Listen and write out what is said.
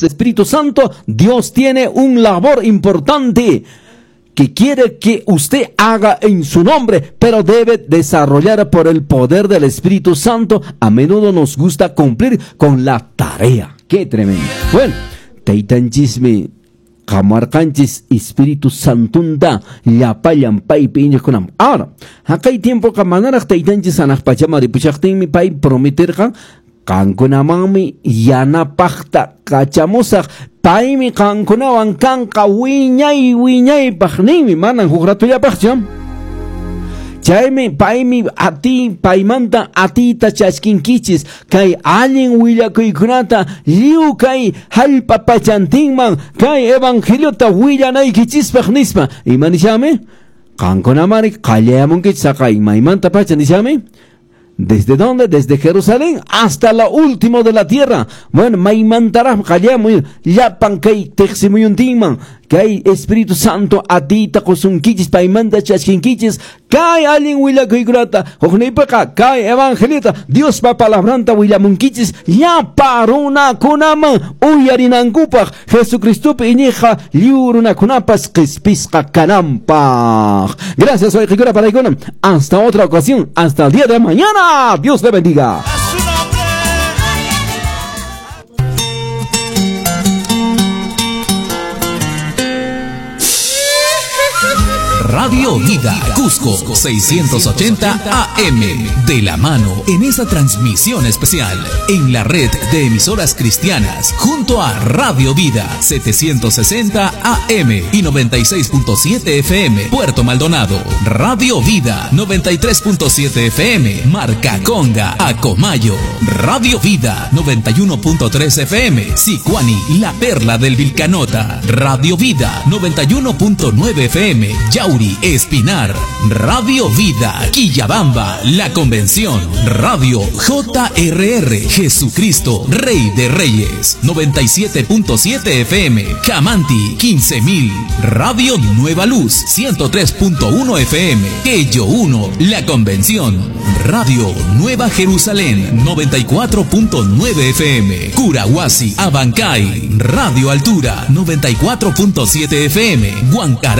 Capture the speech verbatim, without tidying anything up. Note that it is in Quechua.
Espíritu Santo, Dios tiene un labor importante que quiere que usted haga en su nombre, pero debe desarrollar por el poder del Espíritu Santo. A menudo nos gusta cumplir con la tarea. ¡Qué tremendo! Bueno, taytanchismi kamarqanchis Espíritu Santunta llapallan paypi iñiqkunam. Ahora, haqay tiempoqa manaraq taytanchis hanaq pachaman ripushaqtinmi pay prometerqan qankunamanmi yanapaqta kachamusaq, paymi qankunawan kanqa wiñay wiñaypaq ninmi, manan huk ratullapaqchu. Chaymi paymi ati paymanta atita chaskinkichis kay allin willakuykunata lliw kay hallpa pachantinman kay evangeliota willanaykichispaq nispa. Ima nishami? Qankunamari qallayamunkichis saqay maymanta pacha nishami. ¿Desde dónde? Desde Jerusalén hasta lo último de la tierra. Bueno, maymantaraq qallamuy llapan kay tiqsimuyuntinman kay Espíritu Santo atita qusunkichis paymanta chaskinkichis kay allin willakuykunata hukniypiqa kay evangeliota Diospa palabranta willamunkichis llapa runakunaman uyarinankupaq Jesucristopi iñiqqa lliw runakunapas qispisqa kananpaq. Gracias, wayqikuna paraykuna. Hasta otra ocasión, hasta el día de mañana. Dios le bendiga. Radio Vida Cusco seiscientos ochenta A M, de la mano en esa transmisión especial en la red de emisoras cristianas junto a Radio Vida setecientos sesenta A M y noventa y seis punto siete F M Puerto Maldonado, Radio Vida noventa y tres punto siete F M Marca Conga Acomayo, Radio Vida noventa y uno punto tres F M Sicuani, La Perla del Vilcanota, Radio Vida noventa y uno punto nueve F M Yauri Espinar, Radio Vida Quillabamba, La Convención, Radio J R R Jesucristo Rey de Reyes noventa y siete punto siete F M Camanti quince mil, Radio Nueva Luz ciento tres punto uno F M Quello uno, La Convención, Radio Nueva Jerusalén noventa y cuatro punto nueve F M Curahuasi, Abancay, Radio Altura noventa y cuatro punto siete F M Huancará.